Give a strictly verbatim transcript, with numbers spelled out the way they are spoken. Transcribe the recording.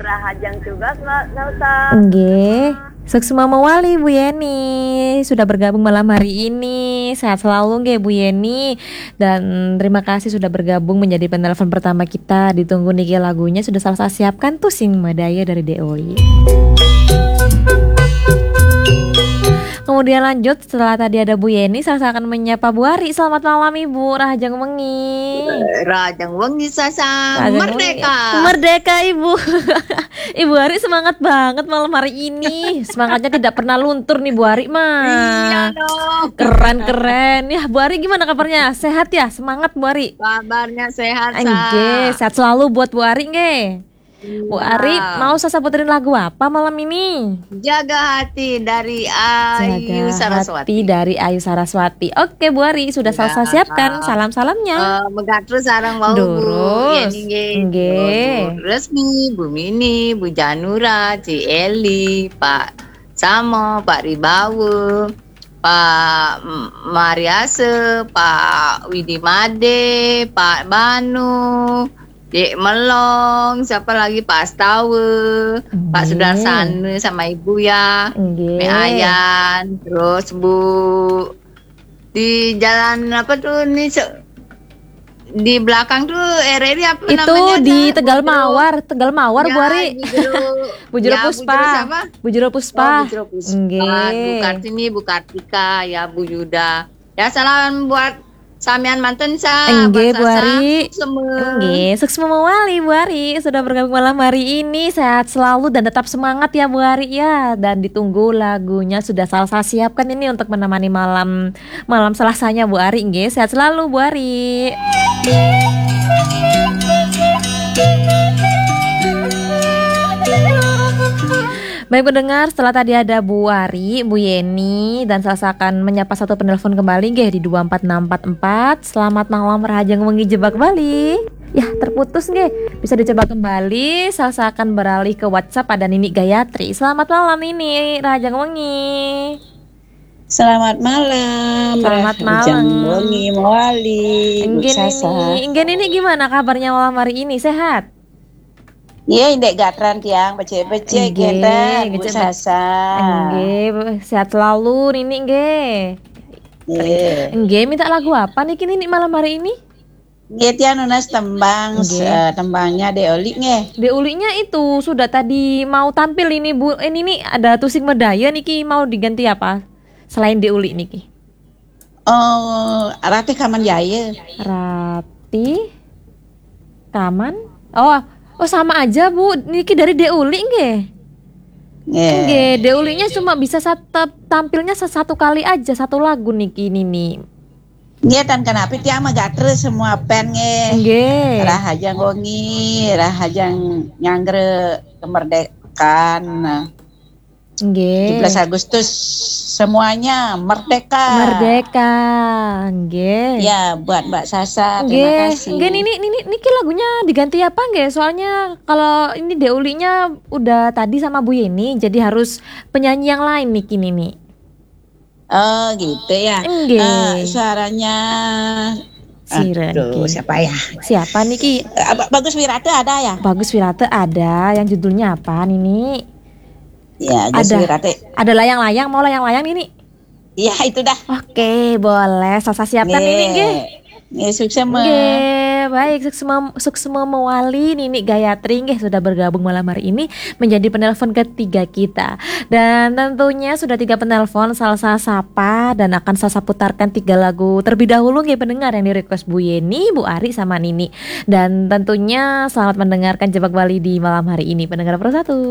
Rahajeng tugas, Mbak Salsa. Nggih. Suksma mawali, Bu Yeni, sudah bergabung malam hari ini. Sehat selalu nggih, Bu Yeni. Dan terima kasih sudah bergabung menjadi penelpon pertama kita. Ditunggu niki lagunya sudah Salsa siapkan tuh sing madaya dari D O I. Kemudian lanjut, setelah tadi ada Bu Yeni, Salsa akan menyapa Bu Ari. Selamat malam, Ibu. Rahajeng wengi. Rahajeng wengi, Salsa. Rahajeng wengi. Merdeka. Merdeka, Ibu. Ibu Ari semangat banget malam hari ini. Semangatnya tidak pernah luntur nih, Bu Ari mah. Iya dong. Keren, keren. Ya, Bu Ari gimana kabarnya? Sehat ya? Semangat, Bu Ari? Kabarnya sehat, Sa. Nggih, sehat selalu buat Bu Ari nggih. Bu Ari, iya, mau Salsa puterin lagu apa malam ini? Jaga Hati dari Ayu Saraswati. Jaga Hati dari Ayu Saraswati. Oke, Bu Ari, sudah Salsa siapkan salam-salamnya. Eh, megatrus sareng wau, Bu Yeni nggih. Nggih. Bu Resmi, Bu Mini, Bu Janura, Ci Eli, Pak Samo, Pak Ribawe, Pak M-, Mariase, Pak Widi Made, Pak Banu, Dek Melong, siapa lagi? Pak Astawe, Pak Sudarsana sama Ibu ya. Nggih. Mek Ayan, terus Bu di jalan apa tuh nih, se-, di belakang tuh R R I apa namanya? Itu di Tegal Mawar, Tegal Mawar, Bu Ari. Ya, Bu Jero. Bu Jero Puspa. Ya, Bu Jero siapa? Bu Jero Puspa. Oh, Bu Jero Puspa. Nggih. Bu Kartini, Bu Kartika, ya, Bu Yuda. Ya, salam buat samian manten, Sa. Nggih, Bu Ari. Semua. Nggih, suksma mawali, Bu Ari, sudah bergabung malam hari ini. Sehat selalu dan tetap semangat ya, Bu Ari ya. Dan ditunggu lagunya sudah Salsa siapkan ini untuk menemani malam, malam Selasanya, Bu Ari. Nggih, sehat selalu, Bu Ari. Baik pendengar, setelah tadi ada Bu Ari, Bu Yeni, dan Salsa akan menyapa satu penelpon kembali nggih di dua empat enam empat empat. Selamat malam, rahajeng wengi, Jebak Bali. Ya, terputus nggih. Bisa dicoba kembali, Salsa akan beralih ke WhatsApp, ada Nini Gayatri. Selamat malam, Nini, rahajeng wengi. Selamat malam. Selamat malam. Rahajeng wengi mawali, Bu Salsa. Nggih, Nini. Nggih, Nini, gimana kabarnya malam hari ini? Sehat? Nggih, ndek gatran tiang, becik-becik. Nggih, ngenten, Bu Salsa. Nggih, sehat selalu, Nini, nggih. Nggih. Nggih, minta lagu apa niki, Nini, malam hari ini? Nggih, tiang nunas tembang, nggih, eh, tembangnya Dek Oli, nggih. Dek Olinya itu sudah tadi mau tampil ini, Bu. Eh, Nini, ada tusing medaya niki, mau diganti apa? Selain Dek Oli niki. Oh, Ratih Kaman Jaya. Ratih Kaman? Oh, oh, sama aja, Bu. Niki dari Dek Uli nggih. Nggih. Nggih, Dek Ulinya cuma bisa sat-, tampilnya se-, satu kali aja, satu lagu niki, Nini. Nggih, tan kenapi tiang megatre semua pen nggih. Nggih. Rahajeng wengi, rahajeng nyanggra kemerdekaan. Nggih. Tujuh belas Agustus semuanya merdeka. Merdeka, nggih. Ya, buat Mbak Salsa, terima kasih. Nggih, Nini, Nini, niki lagunya diganti apa nggih? Soalnya kalau ini Dek Ulinya udah tadi sama Bu Yeni, jadi harus penyanyi yang lain niki, Nini. Oh, gitu ya. Nggih. Eh, suaranya, sira niki. Aduh, siapa ya? Siapa niki? Eh, Ba-, Bagus Wirata ada ya? Bagus Wirata ada. Yang judulnya apa, Nini? Ya, Agus Wirate. Ada layang-layang, mau layang-layang, Nini? Iya, itu dah. Oke, boleh. Salsa siapkan, Nini, nggih. Nggih, suksma. Nggih, baik, suksma, suksma mawali, Nini Gayatri, nggih, sudah bergabung malam hari ini menjadi penelpon ketiga kita. Dan tentunya sudah tiga penelpon, Salsa sapa dan akan Salsa putarkan tiga lagu terlebih dahulu, nggih, pendengar yang di-request Bu Yeni, Bu Ari, sama Nini. Dan tentunya selamat mendengarkan Jebak Bali di malam hari ini, pendengar Pro satu.